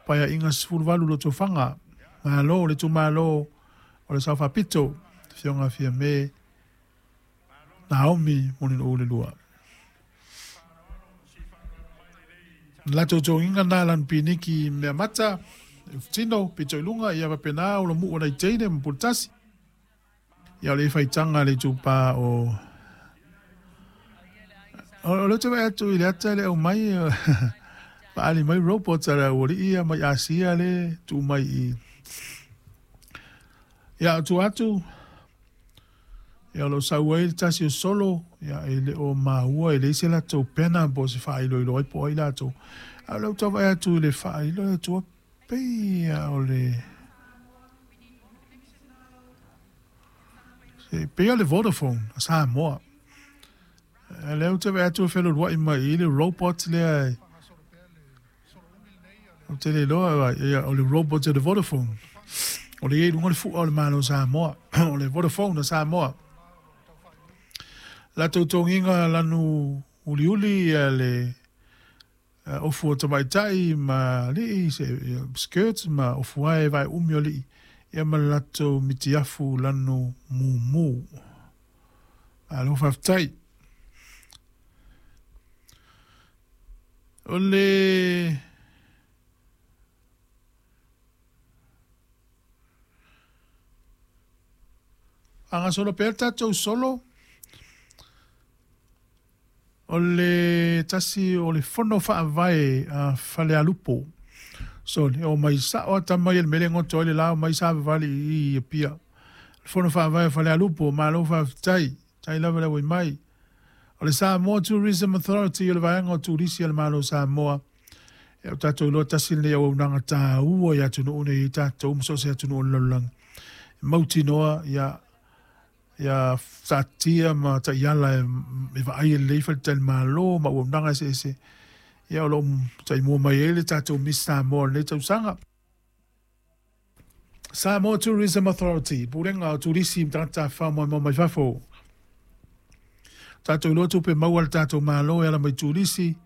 Paeaiga 18 Lotofaga. Malo le itumalo o le Sao Faapito, Afioga Fiame Naomi Mulinuu le lua. Latou togiga na lanu piniki mea mata, tino, pito i luga, ia faapena o lo muu nai teine ma puletasi. Ia o le faitaga le itupa o o le te vai atu i le ata le au mai paali mai robot a le aualii ia mai Asia le tuu mai i ia atu atu ia o lo o sau ai le tasi o solo ia e le o maua e leai se latou pena po o se faailoilo ai po o ai latou a o le tau vaai atu i le faailo atu pei o le pei o le Vodafone a Samoa. Lea ou te vaai atu e feluluai mai i le robot lea. Ou te le iloa ia, o le robot o le Vodafone. O le i ai luga o le fua o le Malo o Samoa. O le Vodafone a Samoa. Latou togiga lanu uliuli ia le ofu o tamaitai ma alii, se skirts ma ofu ae vae umi o alii, ia ma le latou mitiafu lanu mumu. Malo faafetai. O le faagasolo pea le tatou solo, o le tasi o le fono faavae a Falealupo. Sorry, o mai sao ata mai le mele goto ai le lao mai sa vavali i Apia. Le fono faavae a Falealupo, malo faafetai. Tai lava le mai. O le Samoa Tourism Authority o le vaega o turisi a le Malo o Samoa. E o tatou iloa tasi lenei auaunaga taua i atunuu nei i tatou ma so o se atunuu o le lalolagi. E mautinoa ia ia taatia ma taiala e vaai e lelei faletalimalo ma auaunaga eseese. Ia o lo o taimua mai ai le tatou Miss Samoa o lenei tausaga. Samoa Tourism Authority, Pulega o Turisi ma Tagata Tafafao Maimoa Mai Fafo. Tatou iloa tupe maua a le tatou Malo e ala mai turisi,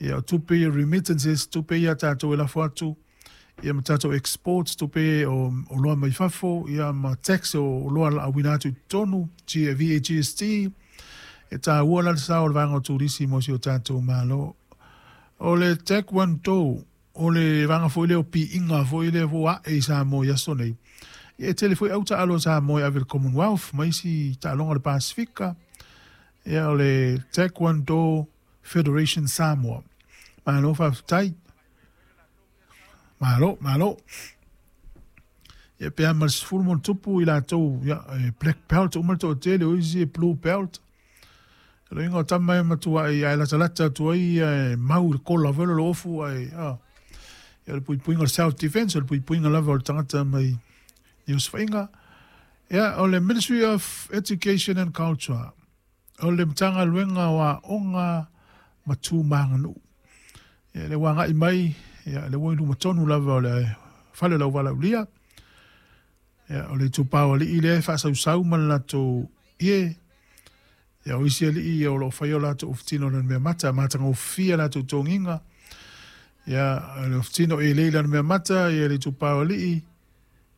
ia o tupe ia remittances, tupe ia tatou e lafo atu, ia ma tatou exports, tupe o oloa mai fafo, ia ma tax o oloa laauina atu i totonu, VAGST, e taua la le sao o le vaega o turisi mo si o tatou Malo. O le Taekwondo, o le vaega foi lea o piiga foi lea ua ae i Samoa i aso nei. Ia e tele foi au taalo a Samoa e ave i le Commonwealth ma isi taaloga o le Pasifika. Ia o le Taekwondo Federation Samoa. Malo faafetai. Malo, malo. Ia pe a ma le 10 ma tupu i latou, ia, e black belt uma le toatele, o isi e blue belt. O le uiga o tama e matuai ae latalata atu ai ia e mau i le kola foi le ofu ae ia o le puipuiga o le self defense, o le puipuiga lava o le tagata mai i osofaiga. Ia o le Ministry of Education and Culture, o le Matagaluega o Aoga ma Tu ma Aganuu. Ia le ua agai mai, ia le ua i luma tonu lava o le fale o le auvalaulia. Ia o le itupa o alii lea e faasausau ma le latou ie. Ia o isi alii ia o lo o faia o latou ofutino o le mea mata, matagofie latou togiga. Ia o le ofutino e lei le mea mata, ia le itupa o alii.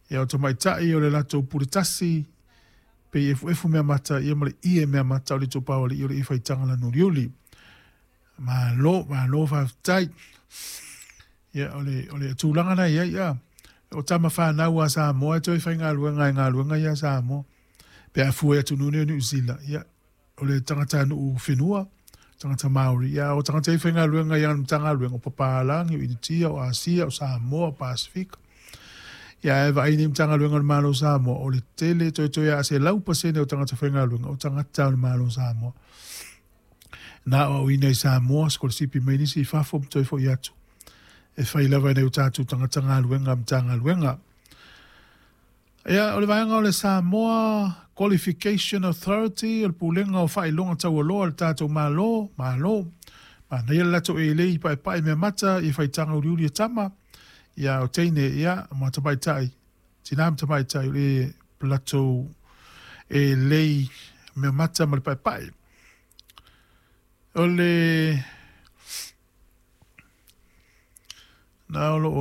Ia o tamaitai o le latou puletasi, pe efuefu mea mata, ia ma le ie mea mata o le itupa o alii o le i faitaga lanu uliuli. Malo, malo faafetai. Ia o le tulaga na ia ia. O tama whanau a Samoa e toe whaingaluega e galuega ia Samoa. Pe a fue atu nune o New Zealand. Ia o le tagata nuu whenua, tagata Māori. Ia o tagata i whaingaluega ia Matagaluega o Papalangi, o Initia, o Asia, o Samoa, o Pasifika. Ia e vaai ni Matagaluega o le Malo o Samoa, o le tele toe toe a se 100% o tagata whaingaluega, o tagata o le Malo o Samoa. Na o au ina i Samoa, sikolasipi mai nisi i fafo ma toe foi atu. E fai lava nei o tatou tagata galuega Matagaluega. Ia, o le vaega o le Samoa Qualification Authority, o le pulega o faailoga taualoa le tatou Malo, malo. Manaia le latou e lei paepae mea mata i faitaga uliuli e tama. Ia o teine, ia, ma tamaitai, tina ma tamaitai o le latou e lei mea mata ma le paepae. O le na o lo